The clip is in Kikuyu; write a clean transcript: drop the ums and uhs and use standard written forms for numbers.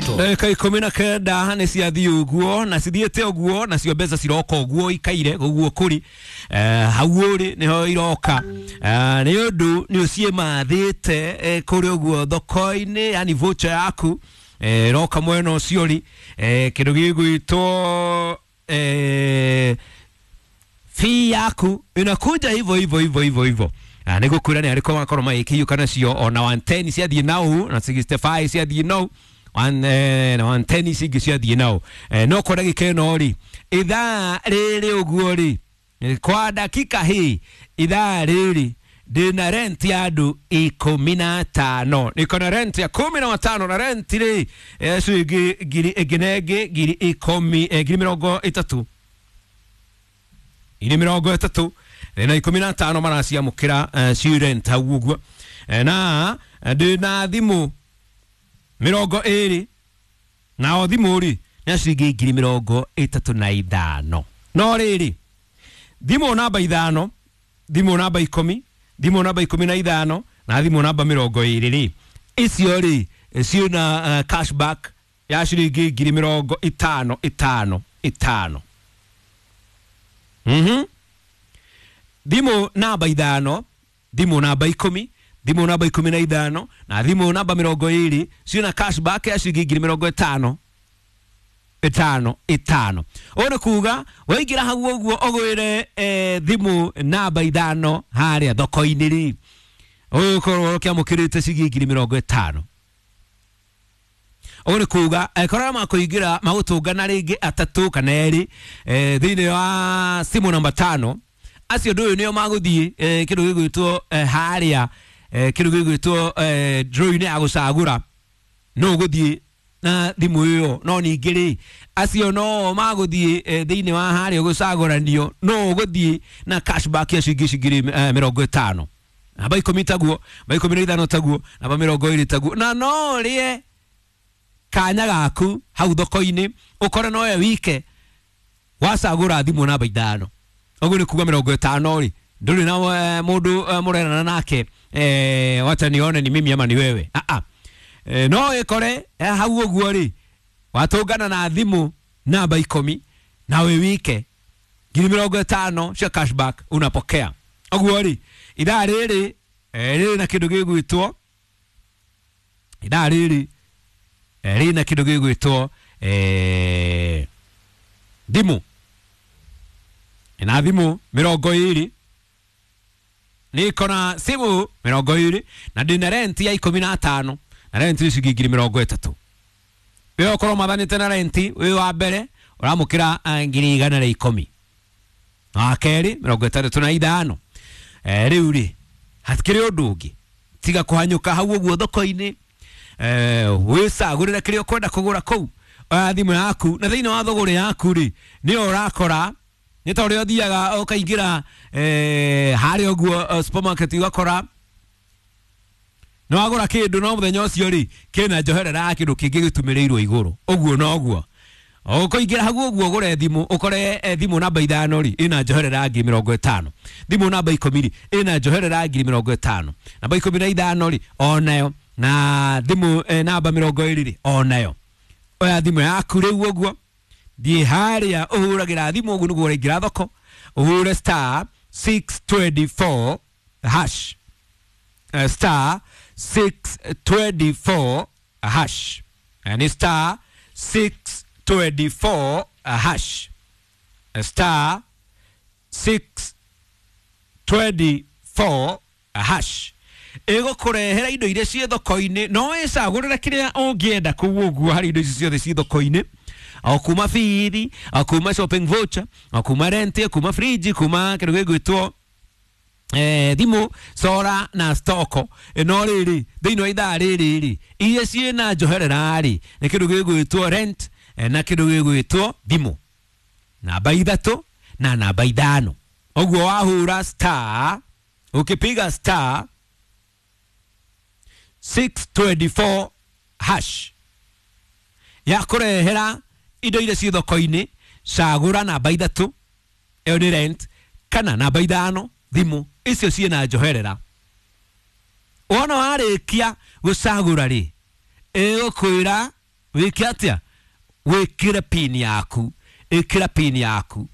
Ruto. Ndagĩka 19 nĩ ciathiĩ ũguo na cithiĩte ũguo, nacio mbeca ciroka ũguo ikaire ũguo kũri hau ũrĩ nĩho iroka, nĩ ũndũ nĩ ũciĩmathĩte kũrĩ ũguo thoko-inĩ, yani voucher yaku ĩroka mwena ũcio rĩ, kĩndũ gĩgwĩtwo fee yaku inakuja hivyo hivyo hivyo hivyo hivyo. Nĩ gũkwĩra nĩ arĩkũ makorwo magĩkĩiyũka nacio, ona 110 ciathiĩ nau na 65 ciathiĩ nau one, na 110 ici ingĩ ciathiĩ nau, no kwa ndagĩka ĩno rĩ, ithaa rĩrĩ ũguo rĩ, kwa dakika hii, ithaa rĩrĩ ndĩna rent ya andũ 15, niko na rent ya 15, na rent rĩ ciringi ngiri ĩngĩ na ĩngĩ 10,000, 30,000, 30,000 na 15 maraciamũkĩra ci rent hau ũguo. Na ndĩna thimũ 20, nao thimũ rĩ nĩ ciringi 35,000. No rĩrĩ, thimũ namba 5, thimũ namba 10, thimũ namba 15 na thimũ namba 20 rĩ, icio rĩ ciĩna cashback ya ciringi 50,000 5 5. Thimũ namba 5, thimũ namba 10, thimũ namba 15 na thimũ namba 20 ciĩna cashback ya ciringi 50,000 5 5. Ũũ nĩ kuga waingĩra hau ũguo ũgwĩre thimũ namba 5 harĩa thoko-inĩ rĩ, ũgũkorwo ũkĩamũkĩrĩte ciringi 50,000. Ũguo nĩ kuga angĩkorwo makũingĩra magũtũngana rĩngĩ atatũ kana erĩ thĩinĩ wa simu namba 5, acio ũndũ ũyũ nĩo magũthiĩ kĩndũ gĩgwĩtwo harĩa kĩndũ gĩgwĩtwo draw-inĩ ya gũcagũra no ũgũthiĩ na thimũ ĩyo. No ningĩ rĩ, acio no magũthiĩ thĩinĩ wa harĩa gũcagũranio no ũgũthiĩ na cashback ya ciringi 50,000. Namba 10 taguo, namba 15 taguo, namba 20 taguo, na no ũrĩe kanya gaku hau thoko-inĩ ũkore nowe wike wacagũra thimũ namba 5. Ũguo nĩ kuga 50 rĩ, ndũrĩ na mũndũ mũrerana nake, wacha nione ni mimi ama ni wewe. No ĩkore hau ũguo rĩ, watũngana na thimũ namba 10 na wĩ wike, 50,000 cia cashback unapokea. Ũguo rĩ, ithaa rĩrĩ rĩrĩ na kĩndũ gĩgwĩtwo, ithaa rĩrĩ rĩrĩ na kĩndũ gĩgwĩtwo thimũ, na thimũ 20, niko na simu 20 na ndĩna rent ya 15, na rent nĩ ciringi 30,000. We ũkorwo mathanĩte na rent wĩ wa mbere ũramũkĩra 110,000, na wa kerĩ 65. Rĩu rĩ, hatikĩrĩ ũndũ ũngĩ tiga kũhanyũka hau ũguo thoko-inĩ, wĩcagũrĩre kĩrĩa ũkwenda kũgũra kũu. Oya thimũ yaku na thĩinĩ wa thũgũrĩ yaku rĩ, nĩyo ũrakora nĩ ta ũrĩa ũthiaga ũkaingĩra harĩa ũguo supermarket ũgakora nĩ wagũra kĩndũ, no mũthenya ũcio rĩ kĩna njoherera ya kĩndũ kĩngĩ gĩtumĩrĩirwo igũrũ. Ũguo noguo ũkũingĩra hau ũguo ũgũre thimũ, ũkore thimũ namba 5 rĩ ĩna njoherera ya 50,000, thimũ namba 10 rĩ ĩna njoherera ya 50,000, namba 15 rĩ onayo, na thimũ namba 20 rĩ onayo. Oya thimũ yaku rĩu ũguo, thiĩ harĩa ũhũragĩra thimũ ũguo nĩguo ũraingĩra thoko, ũhũre star 624 hash, star 624 hash, ni star 624 hash, star 624 hash ĩgũkũrehera indo iria ciĩ thoko-inĩ, no wĩcagũrĩre kĩrĩa ũngĩenda kũu ũguo harĩ indo ici ciothe ciĩ thoko-inĩ, o kuma bithi, o kuma shopping voucher, o kuma rent, o kuma fridge, kuma kĩndũ gĩgwĩtwo thimũ, sora na stoko. No rĩrĩ, thĩinĩ wa ithaa rĩrĩ rĩ, iria ciĩna njoherera rĩ, nĩ kĩndũ gĩgwĩtwo rent na kĩndũ gĩgwĩtwo thimũ namba 3 na namba 5. Ũguo wahũra star, ũkĩpiga star 624 hash ya kũrehera indo iria ciĩ thoko-inĩ, cagũra namba 3, ĩyo nĩ rent, kana namba 5 thimũ, icio ciĩna njoherera. Wona warĩkia gũcagũra rĩ, ĩgũkwĩra Wĩke atĩa? Wĩkĩre pin yaku, ĩkĩra pin yaku.